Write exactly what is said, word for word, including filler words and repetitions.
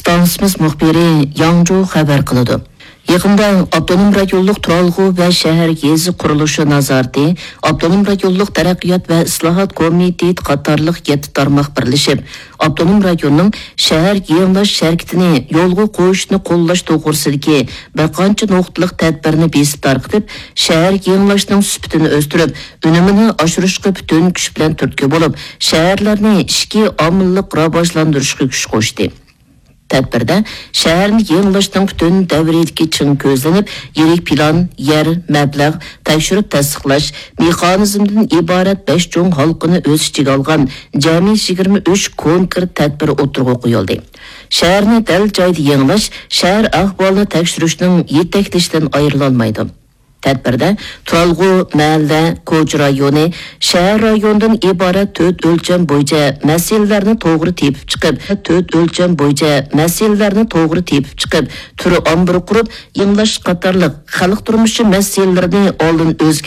باغلىنىشىمىز مۇخبىرى ياڭجۇ خەۋەر قىلىدۇ. يېقىندا ئاپتونوم رايونلۇق تۇرالغۇ ۋە شەھەر يېزا قۇرۇلۇشى نازارىتى، ئاپتونوم رايونلۇق تەرەققىيات ۋە ئىسلاھات كومىتېتى قاتارلىق يەتتە تارماق بىرلىشىپ، ئاپتونوم رايوننىڭ شەھەر يېڭىلاش ھەرىكىتىنى يولغا قويۇشنى قوللاش توغرىسىدىكى بىر قانچە نۇقتىلىق تەدبىرنى بېسىپ تارقىتىپ، شەھەر يېڭىلاشنىڭ سۈپىتىنى ئۆستۈرۈپ، ئۈنۈمىنى ئاشۇرۇشقا پۈتۈن كۈچ بىلەن تۈرتكە بولۇپ، شەھەرلەرنى ئىچكى ئامىللىق راۋاجلاندۇرۇشقا كۈچ قوشتى. تەدبىردە شەھەرنى يېڭىلاشنىڭ پۈتۈن دەۋرىيىدىكى چىڭ كۆزلىنىپ، يىرىك پىلان، يەر، مەبلەغ، تەكشۈرۈپ تەستىقلاش مېخانىزمىدىن ئىبارەت بەش چوڭ ھالقىنى ئۆز ئىچىگە ئالغان جەمئىي يىگىرمە ئۈچ كونكرېت تەدبىر ئوتتۇرىغا قويۇلدى. شەھەرنى دەل جايىدا يېڭىلاش شەھەر ئەھۋالىنى تەكشۈرۈشنىڭ يېتەكلىشىدىن ئايرىلالمايدۇ. تەدبىردە تۇرالغۇ، مەھەللە، كوچا رايونى، شەھەر رايونىدىن ئىبارەت تۆت ئۆلچەم بويىچە مەسىلىلەرنى توغرا تېپىپ چىقىپ، تۆت ئۆلچەم بويىچە مەسىلىلەرنى توغرا تېپىپ چىقىپ، تۈر ئامبىرى قۇرۇپ، يېڭىلاش قاتارلىق خەلق تۇرمۇشى مەسىلىلىرىنى ئالدىن ئۆز